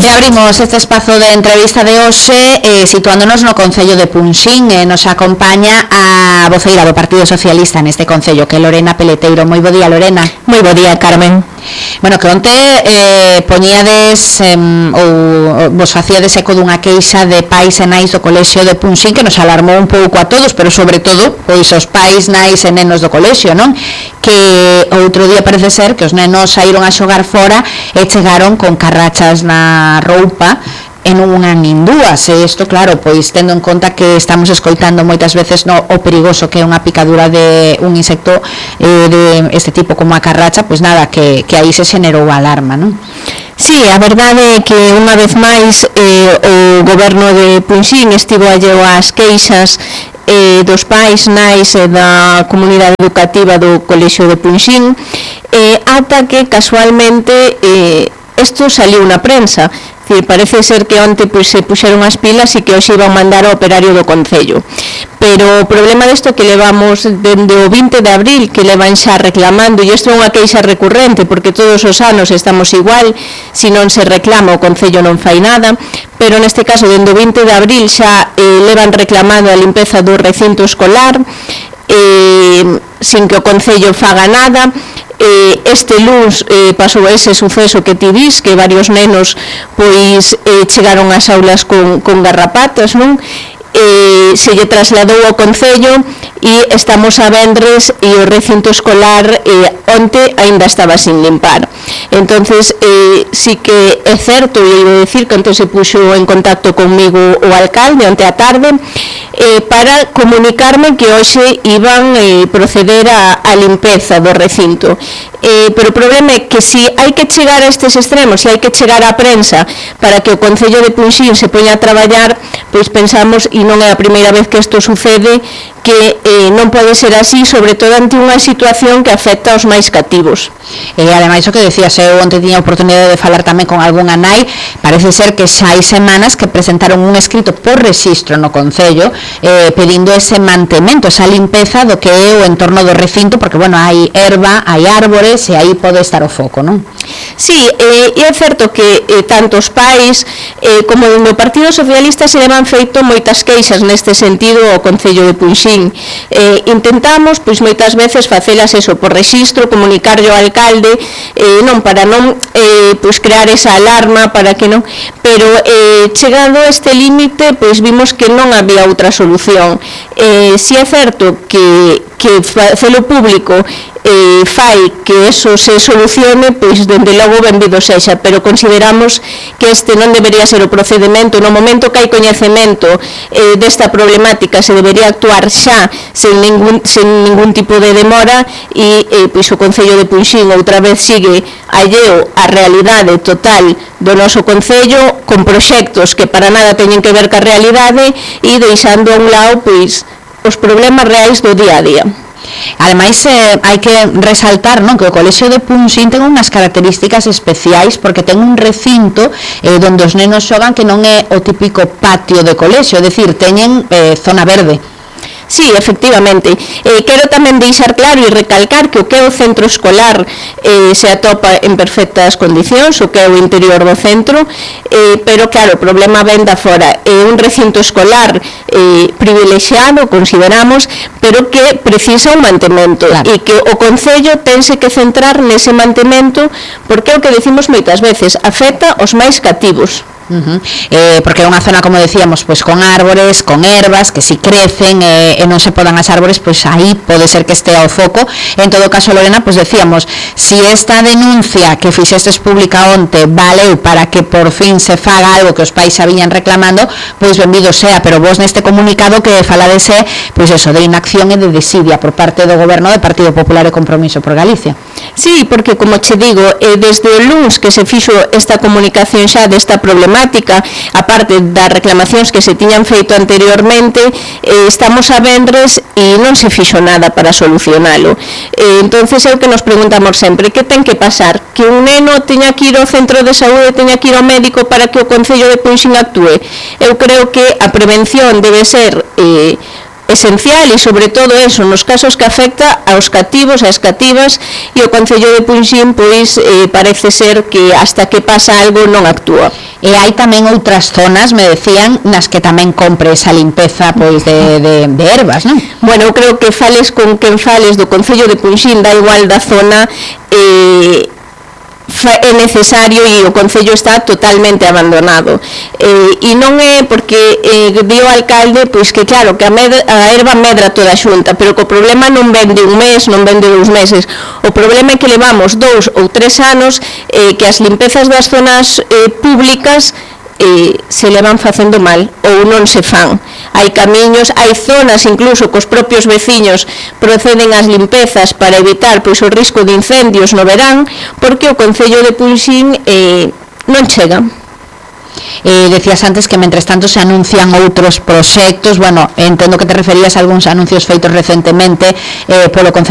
E abrimos este espazo de entrevista de hoxe situándonos no Concello de Punxín. Nos acompaña a voceira do Partido Socialista neste Concello, que é Lorena Peleteiro. Moi bo día, Lorena. Moi bo día, Carmen. Bueno, que onte poñíades ou vos facíades eco dunha queixa de pais e nais do colexio de Punxín que nos alarmou un pouco a todos, pero sobre todo pois os pais, nais e nenos do colexio, non? Que outro día parece ser que os nenos saíron a xogar fora e chegaron con carrachas na roupa e non unha nin dúas, e isto claro, pois tendo en conta que estamos escoitando moitas veces o perigoso que é unha picadura de un insecto de este tipo como a carracha, pois nada, que aí se xenerou a alarma, non? Sí, a verdade é que unha vez máis o goberno de Punxín estivo alleo ás queixas dos pais, nais e da comunidade educativa do colexio de Punxín, ata que casualmente isto saliu na prensa. Parece ser que onte se puxeron as pilas e que hoxe iban mandar ao operario do Concello. Pero o problema desto que levamos dende o 20 de abril, que levan xa reclamando, e isto é unha queixa recurrente, porque todos os anos estamos igual, se non se reclama o Concello non fai nada, pero neste caso dende o 20 de abril xa levan reclamando a limpeza do recinto escolar, sin que o Concello faga nada. Este luns pasou ese suceso que ti dis, que varios nenos pois chegaron ás aulas con garrapatas, non? Se lle trasladou ao Concello e estamos a vendres e o recinto escolar onte aínda estaba sin limpar. Entonces sí que é certo, e iba a decir que onte se puxo en contacto comigo o alcalde onte a tarde para comunicarme que hoxe iban proceder a limpeza do recinto. Pero o problema é que se hai que chegar a estes extremos, se hai que chegar á prensa para que o Concello de Punxín se poña a traballar, pois pensamos, e non é a primeira vez que isto sucede, que non pode ser así, sobre todo ante unha situación que afecta aos máis cativos. E ademais o que decías, eu onte tiña a oportunidade de falar tamén con algunha nai, parece ser que xa hai semanas que presentaron un escrito por rexistro no Concello pedindo ese mantemento, esa limpeza do que é o entorno do recinto, porque, bueno, hai erva, hai árbores e aí pode estar o foco, non? Sí, e é certo que tanto os pais como no Partido Socialista se levan feito moitas queixas neste sentido ao Concello de Punxín. Intentamos, pois moitas veces facelas eso por rexistro, comunicarlle ao alcalde, non para non pois crear esa alarma, para que non, pero chegado a este límite, pois vimos que non había outra solución. Si é certo que facelo público fai que eso se solucione, pois dende logo benvido sexa, pero consideramos que este non debería ser o procedimento. No momento que hai coñecemento desta problemática se debería actuar xa sen ningún tipo de demora, e pois o Concello de Punxín outra vez sigue alleo á realidade total do noso Concello, con proxectos que para nada teñen que ver ca realidade e deixando a un lado pois os problemas reais do día a día. Ademais, hai que resaltar, non, que o colexio de Punxín ten unhas características especiais, porque ten un recinto onde os nenos xogan que non é o típico patio de colexio, é dicir, teñen zona verde. Sí, efectivamente. Quero tamén deixar claro e recalcar que o que é o centro escolar se atopa en perfectas condicións, o que é o interior do centro, pero claro, o problema ven da fora. É un recinto escolar privilexiado, consideramos, pero que precisa un mantemento, claro. E que o Concello tense que centrar nese mantemento, porque é o que decimos moitas veces, afecta aos máis cativos. Porque é unha zona, como decíamos, pois con árbores, con ervas que si crecen e non se podan as árbores, pois aí pode ser que estea o foco. En todo caso, Lorena, pois decíamos, si esta denuncia que fixestes pública onte valeu para que por fin se faga algo que os pais xa viñan reclamando, pois benvido sea, pero vos neste comunicado que faladese, pois eso, de inacción e de desidia por parte do goberno do Partido Popular e Compromiso por Galicia. Sí, porque, como che digo, desde o luns que se fixo esta comunicación xa desta problemática, aparte das reclamacións que se tiñan feito anteriormente, estamos a vendres e non se fixo nada para solucionalo. Entonces é o que nos preguntamos sempre, que ten que pasar? Que un neno teña que ir ao centro de saúde, teña que ir ao médico para que o Concello de Punxín actúe? Eu creo que a prevención debe ser esencial e sobre todo eso, nos casos que afecta aos cativos, ás cativas, e o Concello de Punxín pois parece ser que hasta que pasa algo non actúa. E hai tamén outras zonas, me decían, nas que tamén compre esa limpeza pois de ervas, non? Bueno, eu creo que fales con quen fales do Concello de Punxín, da igual da zona, é necesario e o Concello está totalmente abandonado, e non é porque di o alcalde pois que claro, que a erva medra toda a xunta, pero que o problema non ven de un mes, non ven de 2 meses, o problema é que levamos 2 ou 3 anos que as limpezas das zonas públicas se levan facendo mal ou non se fan. Hai camiños, hai zonas incluso que os propios veciños proceden ás limpezas para evitar pois o risco de incendios no verán, porque o Concello de Punxín non chega. Decías antes que mentres tanto se anuncian outros proxectos, bueno, entendo que te referías a algúns anuncios feitos recentemente polo Concello